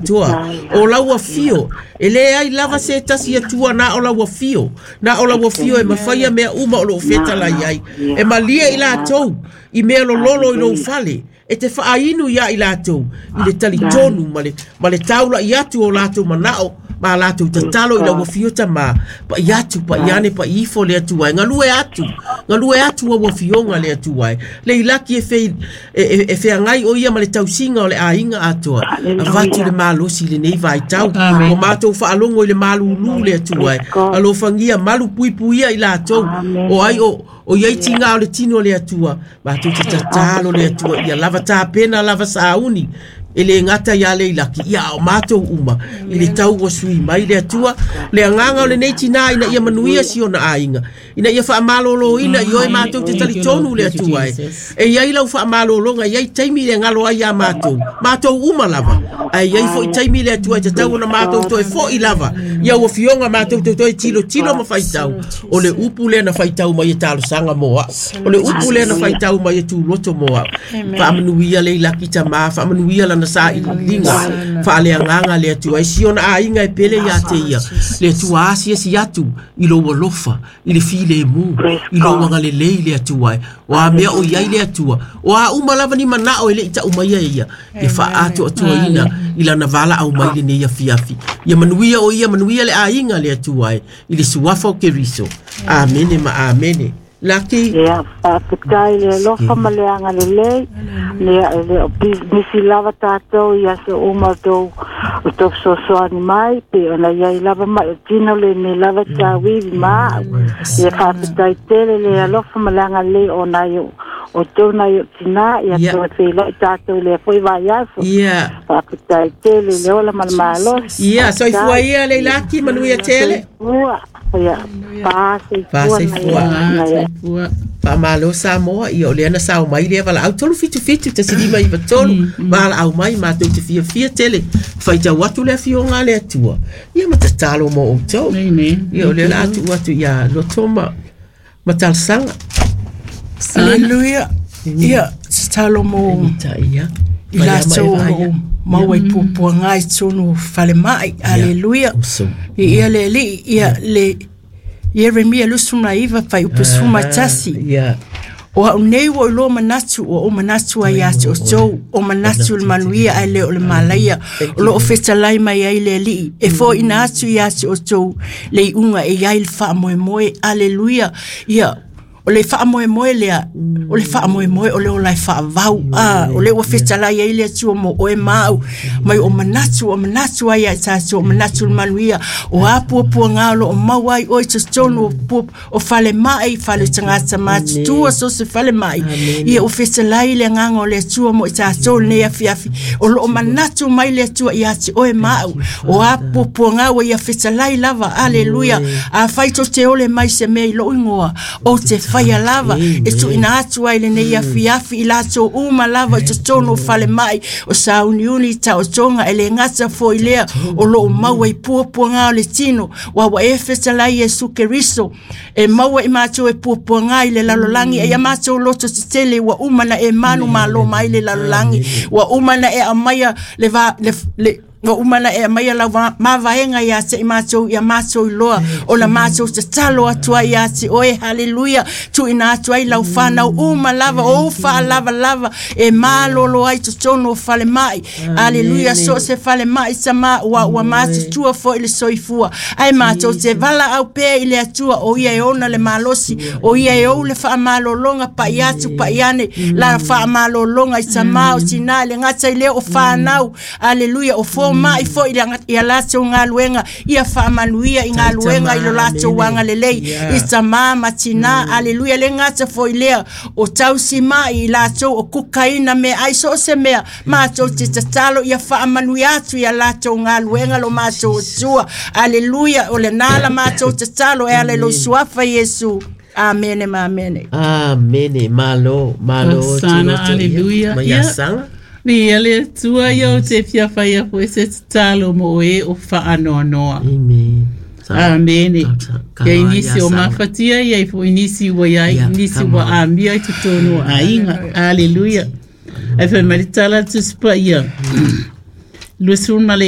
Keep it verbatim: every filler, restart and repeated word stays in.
Atua, o lau afio, e le ai lava se tasi Atua na o lau afio, na o lau afio e mafaia mea uma o loo fetalai ai, e malie i latou, i mea lololo i lou fale, e te faainu ia i latou, i le talitonu ma le, ma le taula i atu o latou manao, ma latou tatalo i lau afio tamā, pa'i atu, pa'i ane, pa'i ifo le Atua e, galue atu, galue atu au afioga le Atua e, le ilaki e fei, e, e, e feagai o ia ma le tausiga o le aiga atoa, avatu le malosi i lenei vaitau, o matou faalogo i le malūlū le Atua e, alofagia malu puipuia i latou, o ai o, o iai tiga o le tino o le Atua, matou te tatalo le Atua, ia lava tapena lava sauni, e le gata ia le ilaki, ia o matou uma, i le tau ua sui mai le Atua, le agaga o lenei tinā ina ia manuia si ona aiga, ina ia faamalōlōina i oe matou te talitonu le Atua e, e iai lau faamalōlōga, e iai taimi le galo ai iā matou, matou uma lava, ae iai foi taimi le Atua e tatau ona matou toe fo'i lava, ia ua fioga matou te toe tilotilo ma faitau, o le upu lea na faitau mai e talosaga mo a'u, o le upu lea na faitau mai e tuloto mo a'u, faamanuia le ilaki tamā, faamanuia lana sailiiliga, faaleagaga le Atua, e si ona aiga e pele iā te ia, le Atua asiasi atu i lou alofa, i le filemu, i lou agalelei le Atua e, o a mea o iai le Atua, o a uma lava ni manao e le'i ta'u mai e ia, ia faaatoatoaina i lana valaau mai lenei afiafi, ia manuia o ia, manuia le aiga le Atua e, i le suafa o Keriso. Amene ma amene. Laki. Ia, faafetai le alofa ma le agalelei. Ia, e le o misi lava tatou i aso uma o tou o tou fesoasoani mai, pe ona iai lava mai o tino lenei lava tauivi ma a'u. Ia faafetai tele le alofa ma le agalelei ona ai o o tou nai o tinā, ia Ia. toe feiloai tatou i lea foi vaiaso. Ia. Faafetai tele le ola ma le malosi. Ia, soifua Faafetai. ia le ilaki, manuia tele. Soifua. Ia, fasoifua Fasoifua. nai a Soifua. Faamalo Samoa, ia o lea na sao mai lea valaau tolu fitu fitu tasi lima iva tolu, valaau mai matou te fiafia tele, faitau atu le afioga a le Atua, ia ma tatalo mo outou. Amen. Ia o lea la atu atu ia loto ma, ma talosaga. Aleluia. Ia, tatalo mo Ta ia. i latou o loo maua i puapuaga i totonu o falemai. Aleluia. Awesome. Ia le Alii, ia le Ieremia luasefulu ma iva fuaiupu sefulu ma tasi. Ia. O a'u nei ua iloa manatu ua ou manatu ai iā te outou, o manatu o le manuia ae le o le malaia, o loo fetalai mai ai le Alii, e fo'oina atu iā te outou le iuga e iai le faamoemoe. Aleluia. Ia, o le faamoemoe lea, o le faamoemoe o le ola e faavau, a o le ua fetalai ai le Atua mo oe ma a'u, mai o manatu o manatu ai ia tatou, o manatu o le manuia, o a puapuaga o loo maua ai oe i totonu o pua o falemai, fale tagata matutua, so se falemai. Ia ua fetalai le agaga o le Atua mo i tatou lenei afiafi, o loo manatu mai le Atua iā te oe ma a'u, o a puapuaga ua ia fetalai lava. Aleluia. Afai tou te ole mai se mea i lou igoa, ou te faia lava, e tuuina atu ai lenei afiafi i latou uma lava i totonu o falemai o sauniuni taotoga, e le gata foi lea o loo maua i puapuaga o le tino, ua ua e fetalai Iesu Keriso e maua i matou e puapuaga i le lalolagi, e ia matou loto tetele ua uma na e manu malo mai le lalolagi, ua uma na e aumaia le, va, le, le ua uma na e aumaia lau mavaega iā te i matou, ia matou iloa ona matou tatalo atu ai iā te oe. Haleluia. Tuuina atu ai lau fanau uma lava o ou faalavalava e malolo ai totonu o falemai. Aleluia. So o se falemai tamā ua ua matutua foi le soifua, ae matou te valaau pea i le Atua, o ia e ona le malosi, o ia e ou le faamalologa, pa'i atu pa'i ane la faamalologa i tamā o tinā, le gata i lea o fanau. Aleluia. O foma'i foi ia latou galuega, ia faamanuia i galuega i lo latou agalelei i tamā ma tinā. Aleluia. Le gata foi lea o tausi mai i latou o kukaina meaai, so o se mea matou te tatalo ia faamanuia atu ia latou galuega lo matou Atua. Aleluia. O lenā la matou tatalo e ala i lou suafa Iesu. Amene ma amene. Amene. Malo, malo. Hosana, Tuloto, ia. aleluia. Ma Ia. ia saga. Viia le Atua, ia o te fia faia fo'i se tatalo mo e o faanoanoa. Amen. Amene. Ka- Ia i ia nisi o saga. mafatia, ia i fo'i nisi ua iai, Ia, nisi come ua on. amia i totonu o aiga. Aleluia. Ae fai mai le tala a le Tusi Paia. Luasefulu ma le